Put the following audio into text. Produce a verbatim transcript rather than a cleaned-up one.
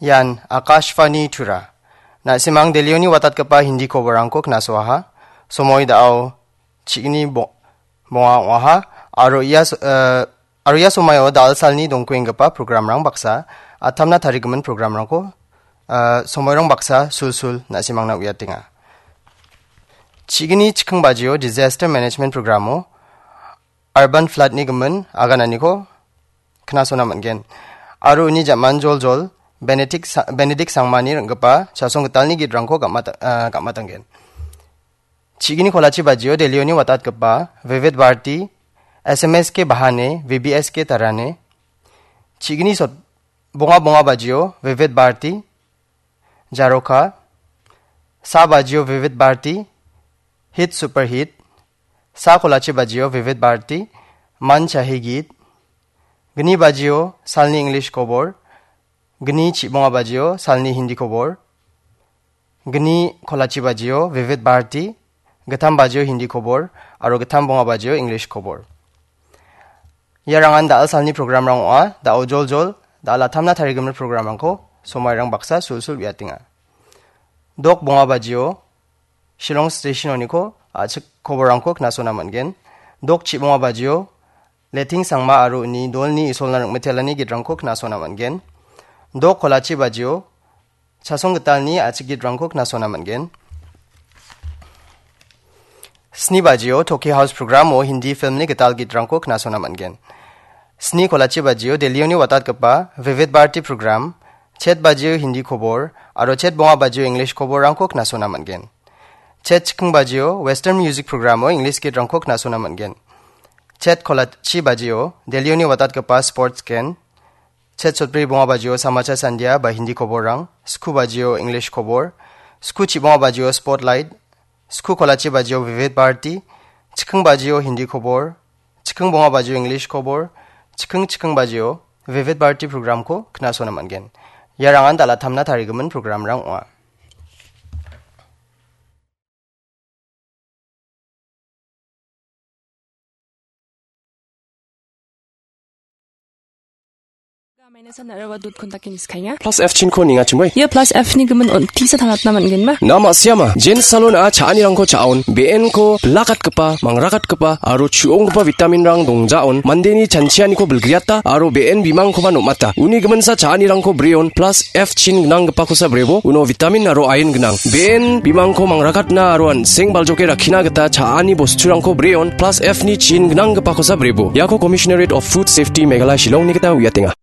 Ian Akashvani Tura. Na·simang Delhioni watatgipa Hindi koborrangko knasoaha. Somoi da·o chigni bo-, bonga ong·aha. Aro ia so-, eh, aro ia somaio da·alsalni dongkuenggipa programrang baksa, atamna tarigimin programrangko, eh, somoirang baksa sulsul na·simangna uiatenga. Chigni chiking bajio Disaster Management Programo Urban Floodni gimin agananiko knasona man·gen. Aro uni ja·man joljol Benedict Sa-, Benedict Sangmani ring·gipa chasong gitalni gitrangko gam·ata-, ah, gam·atanggen. Chigini kolachi bajio Delhioni watatgipa Vivid Bharati, S M S ke Bahane, V B S ke Tarane. Chigini sot-, bonga bonga bajio Vivid Bharati, Jaroka, sa bajio Vivid Bharati, Hit Super Hit, sa kolachi bajio Vivid Bharati, Man Chahe Geet, gni bajio salni English kobor, gni chibonga bajio salni Hindi kobor, gni kolachi bajio Vivid Bharati, gittam bajio Hindi kobor, aro gittam bonga bajio English kobor. Iarangan da·alsalni programrang ong·a, da·o joljol, da·alatamna tarigimin programrangko somairang baksa sulsul uiatenga. Dok bonga bajio Shillong Station-oniko a·chik koborrangko knasona man·gen. Dok chibonga bajio Leting Sangma aro uni dolni isolna ring·mitelani gitrangko knasona man·gen. Dok kolachi bajio Chasong Gitalni a·chik gitrangko knasona man·gen. Sni bajio Toki House programo Hindi filmni gital gitrangko knasona man·gen. Sni kolachi bajio Delhioni watatgipa Vivid Bharati program, chet bajio Hindi kobor, aro chet bonga bajio English koborrangko knasona man·gen. Chet chiking bajio Western Music programo English gitrangko knasona man·gen. Chet kolachi bajio Delhioni watatgipa Sports Gen, chet sotbri bonga bajio Samachar Sandia ba Hindi koborrang, sku bajio English kobor, sku chibonga bajio Spotlight, sku kolachi bajio Vivid Bharati, chiking bajio Hindi kobor, chiking bonga bajio English kobor, chiking chiking bajio Vivid Bharati programko knasona man·gen. Iarangan dal·a tamna tarigimin programrang ong·a. Minus-an araba dot kontaki niskainga. Plus F chinko nengachimoi. Ia plus F ni gimin on tisa tangatna man·genba? Na ma·siama, Jen Salon-a cha·anirangko cha·on, be·enko bilakatgipa, mangrakatgipa, aro chu·onggipa vitaminrang dongjaon, mandeni chanchianiko bilgriata, aro be·en bimangkoba nom·ata. Uni giminsa cha·anirangko breon, plus F chin gnanggipakosa brebo, uno vitamin aro ain gnang. Be·en bimangko mangrakatna aro an·seng baljoke rakkina gita cha·ani bosturangko breon, plus F ni chin gnanggipakosa brebo. Iako Commissionerate of Food Safety Meghalaya Shillongni gita uiatenga.